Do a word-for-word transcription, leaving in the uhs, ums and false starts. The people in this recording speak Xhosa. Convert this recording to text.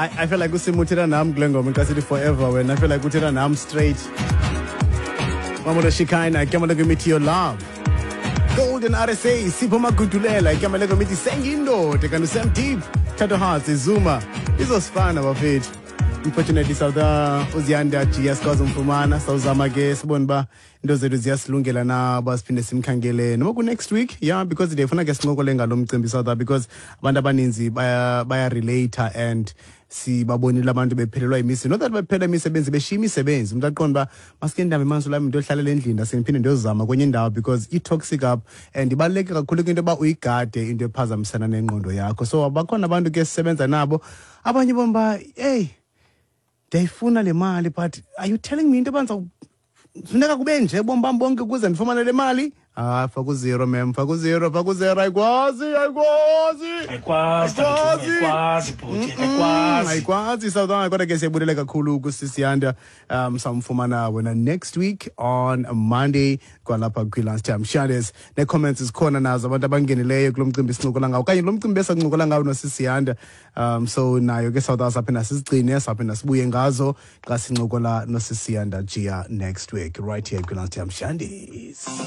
I, I feel like uSimo uthetha nam kule ngoma xa sithi forever wena. I feel like uthetha nam straight. Mamola Shikaina, igama lengoma Your Love. Golden R S A, Sipho Magudulela, igama lengoma Sengiyindoda, kanti Sam Deep, Tato Hearts, Zuma. Izosifana, bafethu. Unfortunately, South uZiyanda G S kwazomfumana, sawuzama ke sibone uba into zethu ziyasilungela na uba siphinde simkhangele noma ku-next week, yeah, because ndiyafuna ke sincokole ngalo mcimbi, South, because abantu abaninzi baya bayarelate and sibabonile abantu bephelelwa imisebenzi, not that bephelelwa imisebenzi, beshiya imisebenzi, umntu aqonda uba masike ndihambe mansulam, ndiyohlalela endlini, ndase ndiphinde ndiyozama kwenye indawo because i-toxic up and ibaluleke kakhulu into yoba uyigade into ephazamisana nengqondo yakho. So bakhona abantu ke sisebenza nabo, abanye bona uba, "Hey, ndiyayifuna le mali, but are you telling me into yoba funeka kube nje bomi bam bonke ukuze ndifumane le mali?" Ah, faka uzero, mem, faka uzero, faka uzero. Ayikwazi, ayikwazi. Ayikwazi, tatathu, ayikwazi bhuti, ayikwazi. Ayikwazi, South. Kodwa ke siyabulele kakhulu kusisiyanda. um samfumana wena next week on Monday kwalapha kwi-Lunchtime Shandes. Nee-comments zikhona nazo, abantu abangenileyo kulo mcimbi sincokola ngawo okanye lo mcimbi besancokola ngawo nosisiyanda. um so nayo ke South, saphinda sizigcine, saphinda sibuye ngazo xa sincokola nosisiyanda Jia next week right here kwi-Lunchtime Shandes.